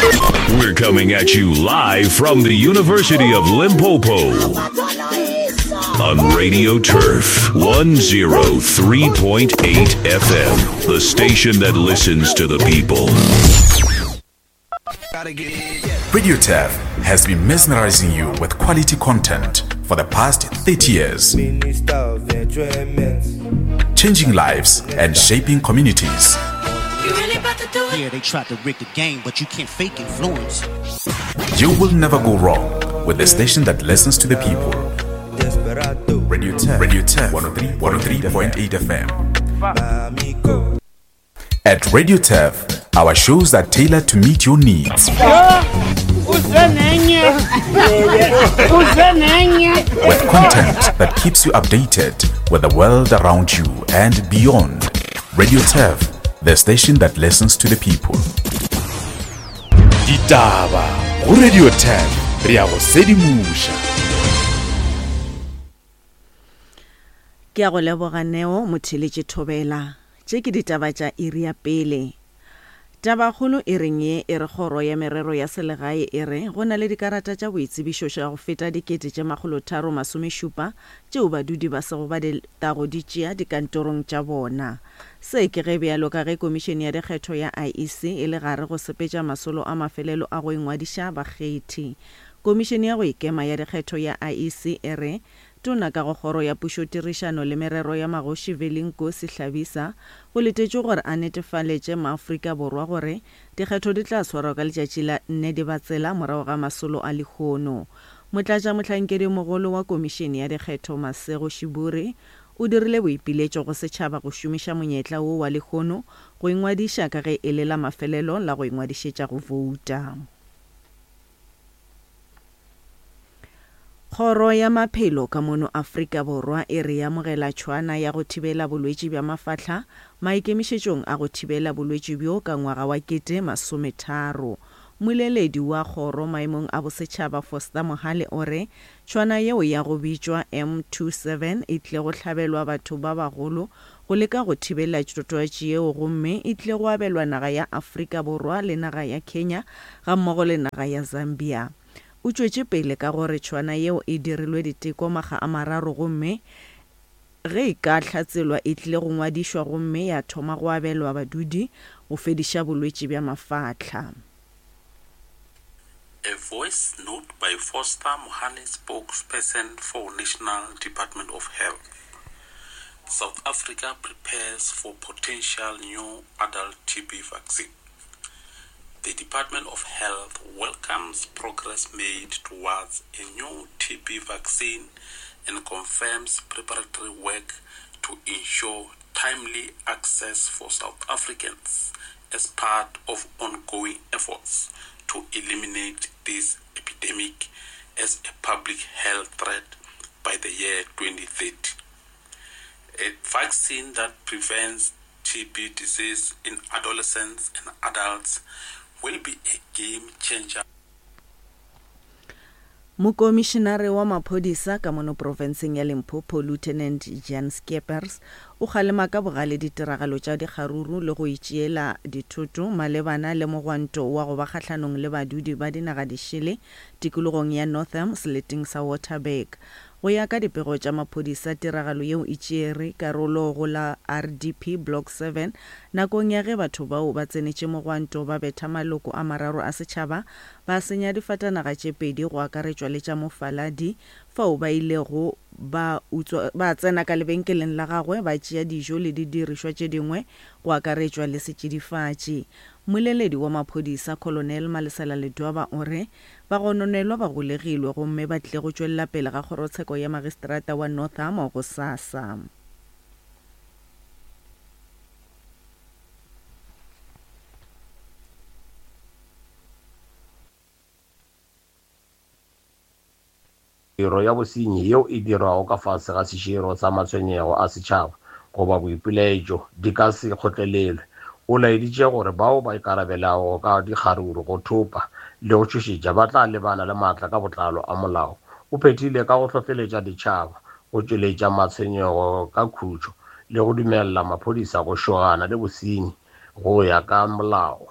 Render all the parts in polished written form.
We're coming at you live from the University of Limpopo on Radio Turf 103.8 FM, the station that listens to the people. Radio Turf has been mesmerizing you with quality content for the past 30 years. Changing lives and shaping communities. Yeah, they tried to rig the game, but you can't fake influence. You will never go wrong with the station that listens to the people. Radio 10, Radio 10, 103.8 FM. At Radio Turf, our shows are tailored to meet your needs. With content that keeps you updated with the world around you and beyond. Radio Turf, the station that listens to the people. Ditaba go Radio 10 re ya go sedimoša. Ke a go leboga Neo Motheletše Thobela. Tše ke ditaba tša iri ya pele. Tabakgolo e reng ye e re Kgoro ya Merero ya Selegae e re go na le dikarata tša boitsebišo tša go feta 3670 tšeo badudi ba sego ba di tago di tšea dikantorong tša bona. Se ke ge bjalo ka ge Komišene ya Dikgetho ya IEC e le gare go sepetša masolo a mafelelo a go ingwadiša bakgethi. Komišene ya go Ikema ya Dikgetho ya IEC e re Tona ka go Kgoro ya Pušotirišano le Merero ya Magoši Veli Nkosi Hlabisa go letetšwe gore a netefaletše maAfrika Borwa gore dikgetho di tla swarwa ka letšatši la nne Dibatsela morago ga masolo a lehono. Motlatšamohlankedimogolo wa Komišene ya Dikgetho Masego Shiburi o dirile boipiletšo go setšhaba go šomiša monyetla wo wa lehono go ingwadiša ka ge e le la mafelelo la go ingwadišetša go bouta. Kgoro ya Maphelo ka mono Afrika Borwa e re e amogela tšhwana ya go thibela bolwetši bja mafahla maikemišetšong a go thibela bolwetši bjo ka ngwaga wa 2030. Mmoleledi wa kgoro maemong a bosetšhaba Foster Mohale o re tšhwana yeo ya go bitšwa M27 e tlile go hlabelwa batho ba bagolo go leka go thibela twatši yeo gomme e tlile go abelwa naga ya Afrika Borwa le naga ya Kenya gammogo le naga ya Zambia. O tšwetše pele ka gore tšhwana yeo e dirilwe diteko makga a mararo gomme ge e ka hlatselwa e tlile go ngwadišwa gomme ya thoma go abelwa badudi go fediša bolwetši bja mafahla. A voice note by Foster Mohale spokesperson for National Department of Health. South Africa prepares for potential new adult TB vaccine. The Department of Health welcomes progress made towards a new TB vaccine and confirms preparatory work to ensure timely access for South Africans as part of ongoing efforts to eliminate this epidemic as a public health threat by the year 2030. A vaccine that prevents TB disease in adolescents and adults will be a game changer. Mokomišenare wa maphodisa ka mono profenseng ya Limpopo, Lieutenant Jan Scheepers, o kgalema ka bogale ditiragalo tša dikgaruru le go itšeela dithoto malebana le mogwanto wa go ba kgahlanong le badudi ba dinaga dišele tikologong ya Northam seleteng sa Waterberg. Go ya ka dipego tša maphodisa, tiragalo yeo e tšeere karolo go la RDP Block 7 nakong ya ge batho bao ba tsenetše mogwanto ba betha maloko a mararo a setšhaba ba senya difatanaga tše pedi go akaretšwa le tša mofaladi fao ba ilego ba utswa ba tsena ka lebenkeleng la gagwe ba tšea dijo le didirišwa tše dingwe go akaretšwa le setšidifatši. Mmoleledi wa maphodisa Colonel Malesela Ledwaba o re Bagononelwa ba golegilwe gomme ba tlile go tšwelela pele ga kgorotsheko ya magistrata wa Northam gosasa. Tiro ya bosenyi yeo e dirwago ka fase ga seširo sa matshwenyego a setšhaba goba boipilaetšo di ka se kgotlelelwe. O laeditše gore bao ba ikarabelago ka dikgaruru, go thopa le go tšhošetša ba tla lebana le maatla ka botlalo a molao. O phethile ka go hlohleletša ditšhaba go tšweletša matshwenyego ka khutšo le go dumelela maphodisa go šogana le bosenyi go ya ka molao.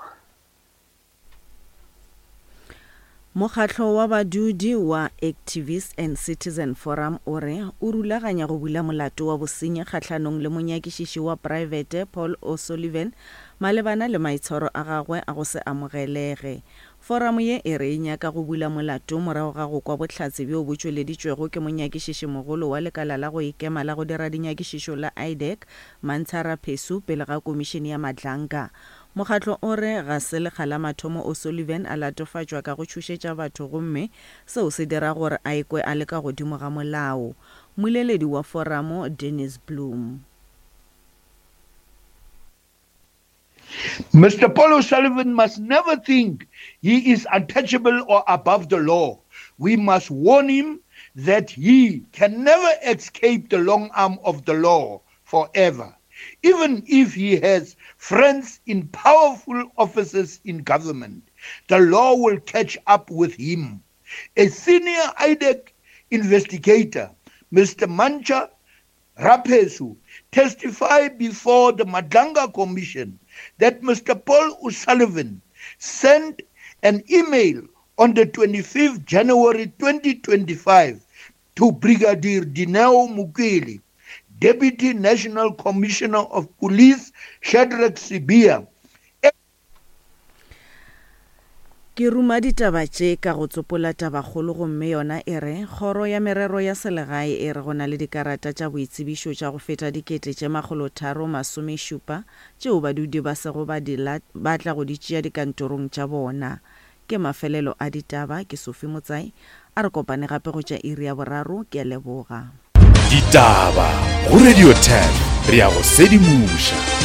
Mokgatlo wa badudi wa Activist and Citizen Forum o re o rulaganya go bula molato wa bosenyi kgahlanong le monyakišiši wa praebete Paul O'Sullivan malebana le maitshwaro a gagwe a go se amogelege. Foramo ye e re e nyaka go bula molato morago ga go kwa bohlatse bjo bo tšweleditšwego ke monyakišišimogolo wa lekala la go ikema la go dira dinyakišišo la IDAC, Mantsha Raphesu pele ga Komišene ya Madlanga. Mokgatlo o re ga se lekga la mathomo O'Sullivan a latofatšwa ka go tšhošetša batho gomme seo se dira gore a ikwe a le ka godimo ga molao. Mmoleledi wa foramo, Dennis Bloem. Mister Paul O'Sullivan must never think he is untouchable or above the law. We must warn him that he can never escape the long arm of the law forever, even if he has friends in powerful offices in government. The law will catch up with him. A senior IDEC investigator, Mr. Mancha Rapesu, testified before the Madlanga Commission that Mr. Paul O'Sullivan sent an email on the 25th January 2025 to Brigadier Dineo Mukeli, Deputy National Commissioner of Police Shadrack Sibiya, Ke ruma ditaba tše ka go tsopola tabakgolo gomme yona e re, Kgoro ya Merero ya Selegae e re go na le dikarata tša boitsebišo tša go feta dikete tše makgolotharo masomešupa tšeo badudi ba sego ba di ba tla go di tšea dikantorong tša bona. Ke mafelelo a ditaba, ke Sophie Motsai. A re kopane gape go tša iri ya boraro, ke a leboga. Ditaba go Radio 10 re a go sedimoša.